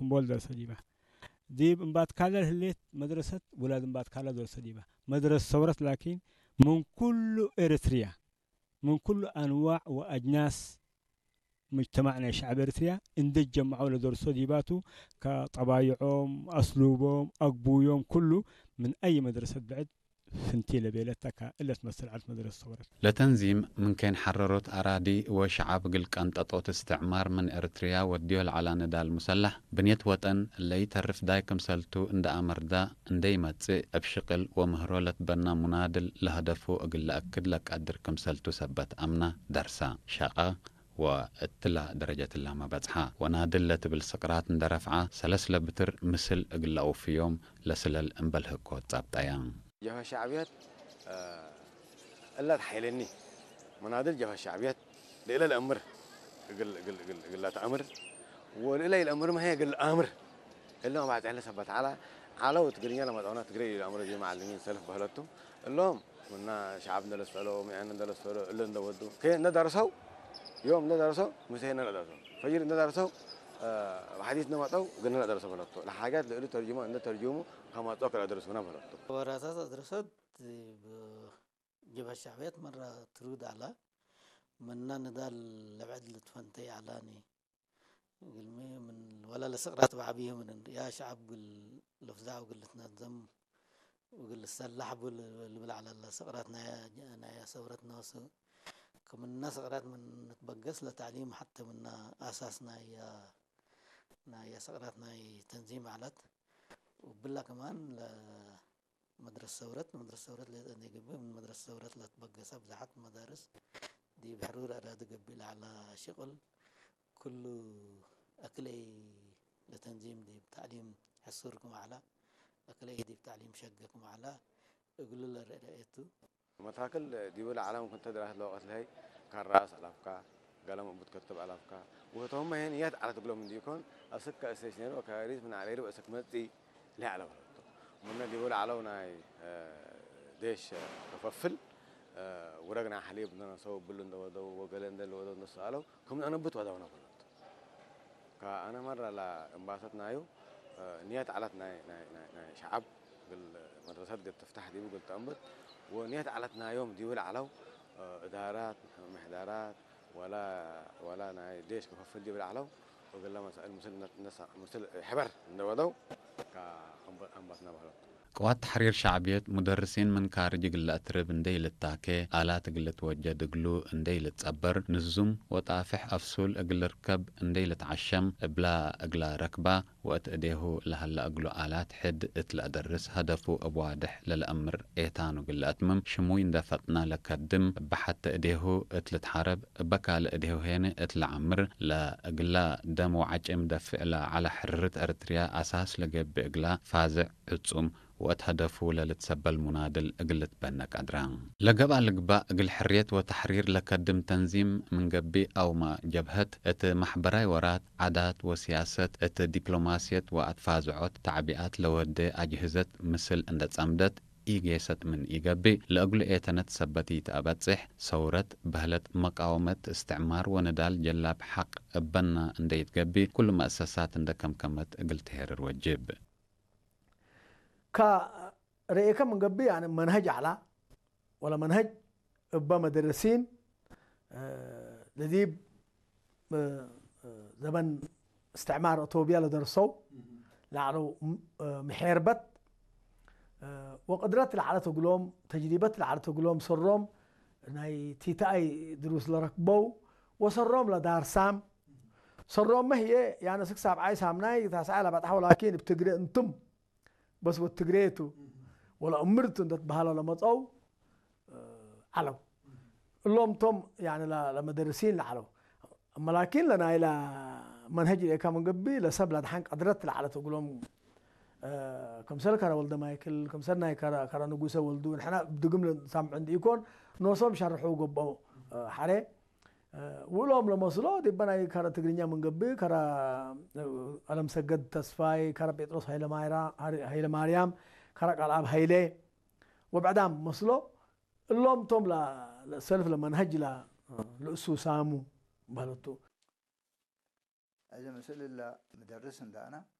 እምቦል ደርሰ ዲባ። ዲብ እምባት ካለ ህሌት መድረሰት ውላድ እምባት ካለ ደርሰ ዲባ። መድረስ ሰውረት ላኪን ምን ኩሉ ኤርትርያ፣ ምን ኩሉ ኣንዋዕ ወኣጅናስ ሙጅተማዕ ናይ ሸዕብ ኤርትርያ እንደ ጀማዑ ለደርሶ ዲባቱ፣ ከጠባይዖም፣ ኣስሉቦም፣ ኣግቡዮም ኩሉ ምን ኣይ መድረሰት ብዕድ ፍንቲ ለቤለታ እለት መስተልዓልት መድረስ ሰውረት። ለተንዚም ምን ከይን ሐረሮት ኣራዲ ወሸዓብ እግል ቀንጠጦት እስትዕማር ምን ኤርትርያ ወድዮ ለዐላ ንዳል ሙሰላሕ ብንየት ወጠን ለኢተርፍ ዳይ ክምሰልቱ እንደ ኣመርዳ እንደ ይመጽእ እብ ሽቅል ወምህሮ ለትበና ሙናድል ለሀደፉ እግል ለአክድ ለቀድር ክምሰልቱ ሰበት ኣምና ደርሳ ሸቀ ወእትላ ደረጀትላመ በጽሓ። ወናድል ለትብል ስቅራት እንደ ረፍዓ ሰለስ ለብትር ምስል እግል ለአውፍዮም ለስለል እምበል ህኮት ጸብጠያ። ጀብሀ ሸዕብየት እላ ተሓይለኒ መናድል ጀብሀ ሸዕብየት ልእለ ለእምር እግል እግል እግል እግል ለተአምር ወልእለ ይልአምር መሀ እግል አምር እሎም ባዕጽሕለ ሰበት ዓላ ዓለው ትግርኛ ለመጠውና ትግሬ ይልአምር ዚ መዓልሚን ሰልፍ በህለቱ እሎም ምና ሸዓብ እንደለሰሎ ምያን እንደለሰሎ እለ እንደወዱ ከ እንደደርሰው ዮም እንደደርሰው ምሰ እንደደርሰው ፈይር እንደደርሰው ብሓዲስ እንደመጠው ግን እንደደርሰው በህለቱ ለሓጃት ልእሉ ተርጅሞ እንደተርጅሙ ከመጦ ክለደርሱና በህለቱ። ወራሳት ኣድረሰት ብ-፣ ጀብሃ ሸዕብየት መራ ትሩድ ኣላ ምና ንዳል ለብዕድ ልትፈንተይ ኣላኒ። ግልሚ ምን ወላ ለስቅራት በዓብየ ምን ያ ሸዓብ ግል ለፍዛዕ ወግል ልትነዘም ወግል ልሰላሕ ቡ ልብል ዓላ ለስቅራት ናያ፣ ናያ ሰውረት ነፍሱ። ከምና ስቅራት ምን ንትበገስ ለታዕሊም ሐተ ምና ኣሳስ ናያ፣ ናያ ስቅራት ናይ ተንዚም ዓላት። ወብላ ከማን ለ-፣ መድረስ ሰውረት፣ መድረስ ሰውረት ለይጠን ይግብእ፣ ምን መድረስ ሰውረት ለትበገሰ ብዝሓት መዳርስ ዲብ ሕሩር ኣዳዲ ገብእ ለዐላ ሽቅል ኩሉ ኣክለይ ለተንዚም ዲብ ታዕሊም ሕሱር ክም ዐላ፣ ኣክለይ ዲብ ታዕሊም ሸገ ክም ዐላ እግሉ ለረአ ቱ። መታክል ዲቡ ለዓለም ክንተ ድራሰት ለወቀት ለሀይ ካራስ ኣላፍካ፣ ገለም እቡ ትከትብ ኣላፍካ፣ ወህቶም መሄን የት ዓለት እግሎም እንዲኮን፣ እስከ እስቴሽነሪ ወካሪስ ምን ዓሌሪ በእስክ መጺ ለይ ዓለ በለቶ። ምነ ዲቡ ለዓለው ናይ ዴሽ ከፈፍል፣ ውረግ ናይ ሓሊብ እንደነሰው ብሉ እንደወደው ወገለ እንደልወደው እንደሰኣለው፣ ክም ኣነብት ወደውና በለቶ። ከአነ መራ ለእምባሰት ናዩ፣ ንየት ዓለት ናይ፣ ናይ፣ ናይ፣ ናይ ሸዓብ ግል መድረሰት ግል ትፍታሕ ዲቡ ግል ተእምብት፣ ወንየት ዓለት ናዮም ዲቡ ለዓለው፣ እዳራት፣ ምሕዳራት፣ ወላ፣ ወላ ናይ ዴሽ ክፈፍል ዲቡ ለዓለው፣ ወግለ መሳእል ምስል ነ-፣ ነሳ-፣ ምስል ሕበር እንደወደው፣ ከአምበ-፣ ኣምባትና በህለቱ። ቅዋት ተሕሪር ሸዕብየት ሙደርሲን ምን ካርጅ እግል ለአትርብ እንዴ ኢልታኬ፣ አላት እግል ልትወጀድ እግሉ እንዴ ኢልትጸበር፣ ንዙም ወጣፍሕ አፍሱል እግል ልርከብ እንዴ ኢልትዓሸም፣ እብላ እግላ ረክባ ወእት እዴሁ ለሀላ እግሉ አላት ሕድ እት ለአደርስ ሀደፉ እብ ዋድሕ ለለአምር ኤታኑ እግል ለአትምም ሽሙይ እንዴ ፈጥና ለከድም እበ ሐተ እዴሁ እት ልትሓረብ እበ ካልእ እዴሁ ሄነ እት ለዓምር ለእግላ ደም ወዓጭም ደፍዕ ለዐለ ሕርርት ኤረትርያ አሳስ ለገብእ እግላ ፋዝዕ ዕጹም ወእት ሀደፉ ለልትሰበል ሙናድል እግል ልትበነ ቀድራ። ለገብአ ልግባእ እግል ሕርየት ወተሕሪር ለከድም ተንዚም ምን ገብእ አውመ ጀብሀት እት መሕበራይ ወራት፣ ዓዳት ወሲያሰት፣ እት ዲፕሎማስየት ወአትፋዝዖት ተዕቢኣት ለወዴ አጅህዘት ምስል እንደ ጸምደት ኢጌሰት ምን ኢገብእ፣ ለእግሉ ኤተነት ሰበት ኢተአበጽሕ፣ ሰውረት፣ በህለት፣ መቃወመት፣ እስትዕማር ወንዳል ጀላብ ሐቅ እበና እንደ ኢትገብእ፣ ኩሉ መአሰሳት እንደ ከምከመት እግል ትሄርር ወጅብ። ከ-፣ ርኤከ ምን ገብእ፣ ያኒ መንሀጅ ዐላ፣ ወለ መንሀጅ እበ መደረሲን፣ እ፣ ለዲብ፣ እ፣ እ፣ ዘበን እስትዕማር እቶብያ ለደርሰው፣ ለዐለው፣ ም-፣ እ፣ ምሔርበት፣ እ፣ ወቅድረት ለዐለት እግሎም፣ ተጅሪበት ለዐለት እግሎም፣ ሰሮም ናይ ቲተኣይ ድሩስ ለረክበው፣ ወሰሮም ለዳርሳም፣ ሰሮም መህዬ፣ ያነ ስክ ሳብዓይ ሳምናይ ታስዓይ ለበጽሐው፣ ላኪን እብ ትግሬ እንቱም በስ ወትግሬቱ ወላ እምርቱ እንደ ትበሃሎ ለመጸው፣ እ፣ ዐለው። እሎም ቶም፣ ያኒ፣ ለ-፣ ለመደርሲን ለዐለው። እመ ላኪን ለናይላ መንሀጅ ርኤካ ምን ገብእ፣ ለሰብ ለድሓን ቀድረት ለዐለት እግሎም፣ እ፣ ክምሰል ከረ ወልደ ማይክል፣ ክምሰል ናይ ከረ፣ ከረ ንጉሰ ወልዱ፣ ንሕና ብድግም ለንሳምዑ እንዲ ኢኮን፣ ኖሶም ሸርሑ ገብኦ፣ እ፣ ሐሬ። ውእሎም ለመስሎ ዲበ ናይ ከረ ትግርኛ ምን ገብእ፣ ከረ፣ እ፣ ቀለምሰገድ ተስፋይ፣ ከረ ጴጥሮስ ሃይለማይራ-፣ ሃሪ-፣ ሃይለማርያም፣ ከረ ቃልኣብ ሃይለ፣ ወብዕዳም መስሎ፣ እሎም ቶም ለ-፣ ለሰልፍ ለመንሀጅ ለ-፣ ልእሱ ሳሙ በህለቱ። እዚ ምስል ላ ምደርስ እንዳና